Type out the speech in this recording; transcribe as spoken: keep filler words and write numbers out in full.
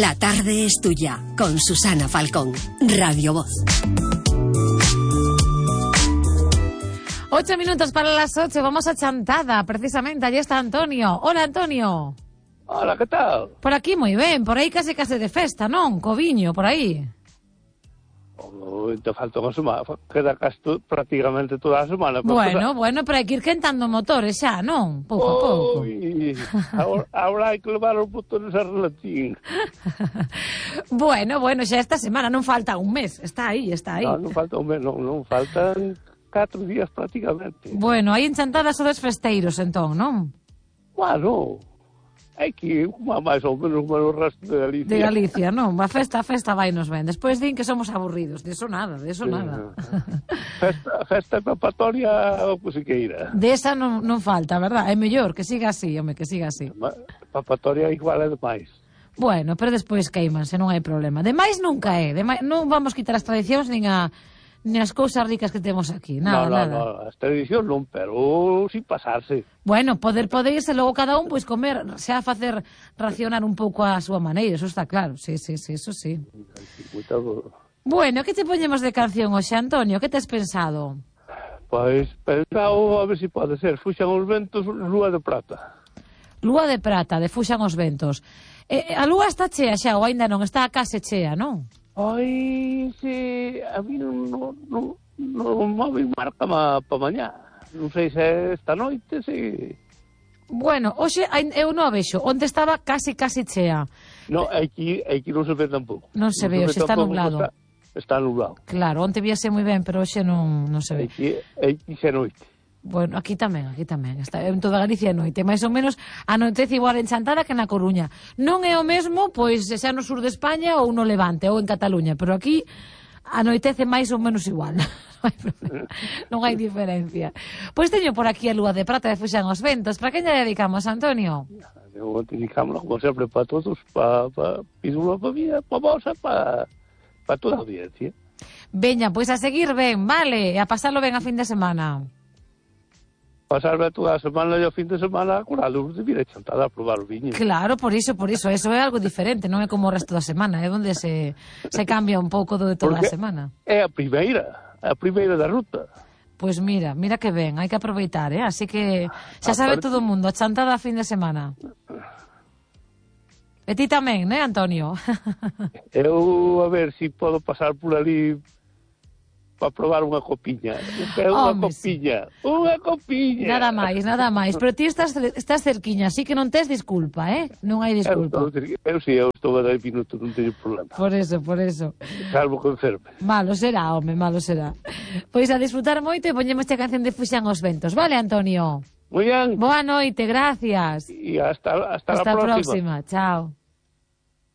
La tarde es tuya, con Susana Falcón, Radio Voz. Ocho minutos para las ocho, vamos a Chantada, precisamente, allí está Antonio. Hola, Antonio. Hola, ¿qué tal? Por aquí moi ben, por aí case case de festa, non? Coviño, por aí. Oh, te falta unha semana, queda casi prácticamente toda a semana. Bueno, bueno, pero hai que ir quentando motores xa, non? Pouco a pouco. Ui, agora, agora hai que levar os botores a relatín. Bueno, bueno, xa esta semana, non falta un mes, está aí, está aí. Non, non falta un mes, non, non faltan catro días prácticamente. Bueno, hai en Chantada sodes festeiros, entón, non? Bueno, hai que ir máis ou menos como o resto de Galicia. De Galicia, non? A festa, a festa vai nos ben. Despois din que somos aburridos. De eso nada, de eso nada. Festa, festa papatoria o que se queira. De esa non, non falta, verdad? É mellor que siga así, home, que siga así. Papatoria igual é demais. Bueno, pero despois queimanse, non hai problema. Demais nunca é. Demais, non vamos quitar as tradicións nin a nin as cousas ricas que temos aquí, nada, no, no, nada. No, as tradicións non, pero sin pasarse. Bueno, poder poderse logo cada un pois comer, xa facer racionar un pouco a súa maneira, eso está claro. Sí, sí, sí, eso sí. Muito... Bueno, que te poñemos de canción hoxe, Antonio? Que tes pensado? Pois pensado a ver se si pode ser Fuxan os ventos, Lúa de Prata. Lúa de Prata, de Fuxan os ventos. Eh, a lúa está chea xa, ou aínda non está case chea, non? Ai, se a mí non non non non móvil marca ma pa mañá. Non sei se esta noite se Bueno, hoxe eu non a vexo, onde estaba casi casi chea. No, aquí aquí non se ve tampouco. Non se ve, hoxe está nublado. Está, está nublado. Claro, onte víase moi ben, pero hoxe non non se ve. Aquí aquí se noite. Bueno, aquí tamén, aquí tamén. Está en toda Galicia a noite, máis ou menos anoitece igual en Chantada que na Coruña. Non é o mesmo, pois, xa no sur de España ou no Levante ou en Cataluña, pero aquí anoitece máis ou menos igual. Non hai problema, non hai diferencia. Pois teño por aquí a Lúa de Prata de Fuxan os ventos. Para quen lle dedicamos, Antonio? Eu dedicamos, como sempre, para todos, para pa, pídula para mí, para vos, para pa toda a audiencia. Veña, pois a seguir ben, vale, e a pasarlo ben a fin de semana. Pasarme toda a semana e o fin de semana con a luz de vir a Chantada a probar o viño. Claro, por iso, por iso, eso é algo diferente, non é como o resto da semana, é onde se, se cambia un pouco do de toda Porque a semana. É a primeira, a primeira da ruta. Pois mira, mira que ben, hai que aproveitar, eh? Así que xa sabe Aparte... todo o mundo, a Chantada a fin de semana. E ti tamén, né, Antonio? Eu, a ver, se si podo pasar por ali para probar unha copiña. É unha Home, copiña, sí. Unha copiña. Nada máis, nada máis. Pero ti estás, estás cerquiña, así que non tes disculpa, eh? Non hai disculpa. Eu, eu, eu si, eu estou a dez minutos, non teño problema. Por eso, por eso. Salvo que enferme. Malo será, home, malo será. Pois a disfrutar moito e poñemos esta canción de Fuxan os ventos, vale, Antonio? Moi ben. Boa noite, gracias. E hasta, hasta, hasta la próxima. próxima. Chao.